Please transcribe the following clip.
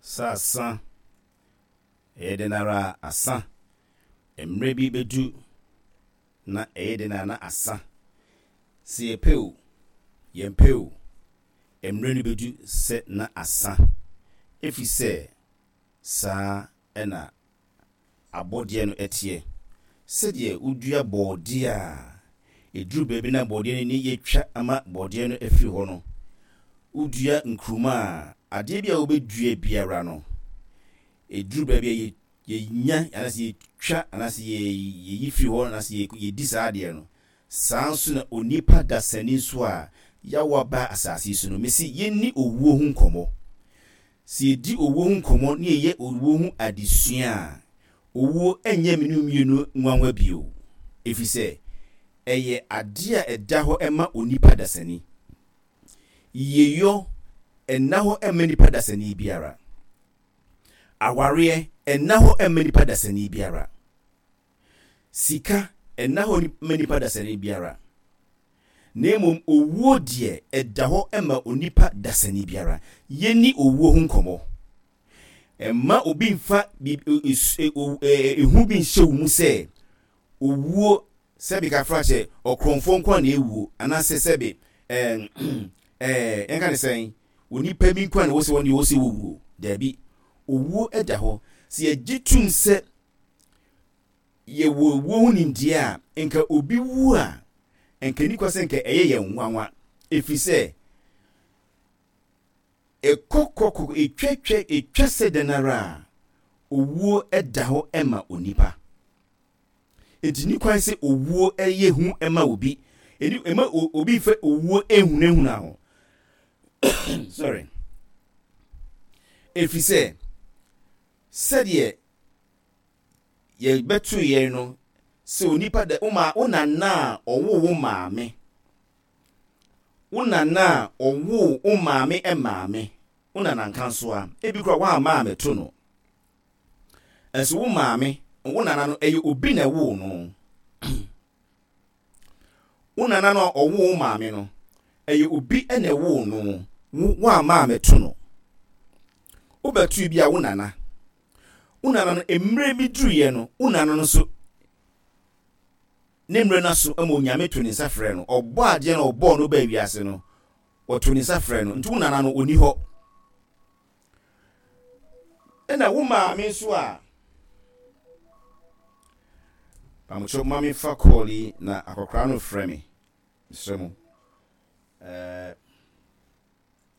Sɛ asa, ɛyɛ dɛn ara a, asa. Mmerɛ bi bɛdu na ɛyɛ dɛn ara na asa. Sɛ yɛpɛ o, yɛmpɛ o, mmerɛ no bɛdu sɛ na asa. Ɛfiri sɛ saa na abɔdeɛ no teɛ. Sɛdeɛ wodua bɔɔdeɛ a, ɛduru baabi na bɔɔdeɛ no ani yɛtwa ama bɔɔdeɛ no afiri hɔ no, wodua nkruma a, adeɛ bi a wobɛdua biara no, ɛduru baabi a yɛnya anaasɛ yɛtwa anaasɛ yɛyi firi hɔ anaasɛ yɛdi saa adeɛ no. Saa nso na onipa dasani nso a yɛawo aba asase yi so no, mese yɛnni owuo ho nkɔmmɔ. Sɛ yɛdi owuo ho nkɔmmɔ na yɛyɛ owuo ho adesua a, owuo nyɛ me ne wo mmienu nwanwa bio, ɛfiri sɛ ɛyɛ adeɛ a ɛda hɔ ma onipa dasani. Yieyɔ nna hɔ mma nipa dasani biara. Awareɛ nna hɔ mma nipa dasani biara. Sika nna hɔ mma nipa dasani biara. Na mmom owuo deɛ, ɛda hɔ ma onipa dasani biara. Yɛnni owuo ho nkɔmmɔ. Mma obi mfa ehu bi nhyɛ wo mu sɛ owuo, sɛbe kafra kyɛ, ɔkorɔmfoɔ nko ara na ɛwuo, anaasɛ sɛbe ɛɛ ɛɛ yɛnka ne sɛn, onipa bi nko ara na ɛwɔ sɛ wɔn deɛ ɛwɔ sɛ wɔwuo. Daabi, owuo da hɔ. Sɛ yɛgye tom sɛ yɛwɔ owuo ho nimdeɛ a, nka obi wu a, nka ɛnni kwa sɛ nka ɛyɛ yɛn nwanwa, ɛfiri sɛ ɛkɔ kɔ kɔ ɛtwa twa ɛtwa sɛ dɛn ara a, owuo da hɔ ma onipa. Enti ni kwan sɛ owuo yɛ hu ma obi. Ɛni ɛma obi mfa owuo nhunahuna ho. Sorry. Ɛfiri sɛ sɛdeɛ yɛbɛto yɛn no sɛ onipa dɛ wo ma wo nana a ɔwoo wo maame wo nana a ɔwoo wo maame maame wo nana nkansoa ebi kora woamma ammɛto no ɛnso wo maame wo nana no ɛyɛ obi na ɛwoo no wo nana no a ɔwoo wo maame no ɛyɛ obi na ɛwoo no wo woamma ammɛto no wobɛto bi a wo nana Wo nana no, mmerɛ bi duruiɛ no, wo nana no nso, ne mmerɛ no aso ma Onyame to ne nsa frɛ no. Ɔbɔ adeɛ no ɔbɔɔ no baa wiase no, ɔto ne nsa frɛ no. Nti wo nana no, ɔni hɔ. Ɛna wo maame nso a, pamokyɛw ma me fa call yi na akɔkora no frɛ me. Mesrɛ mo. Eh.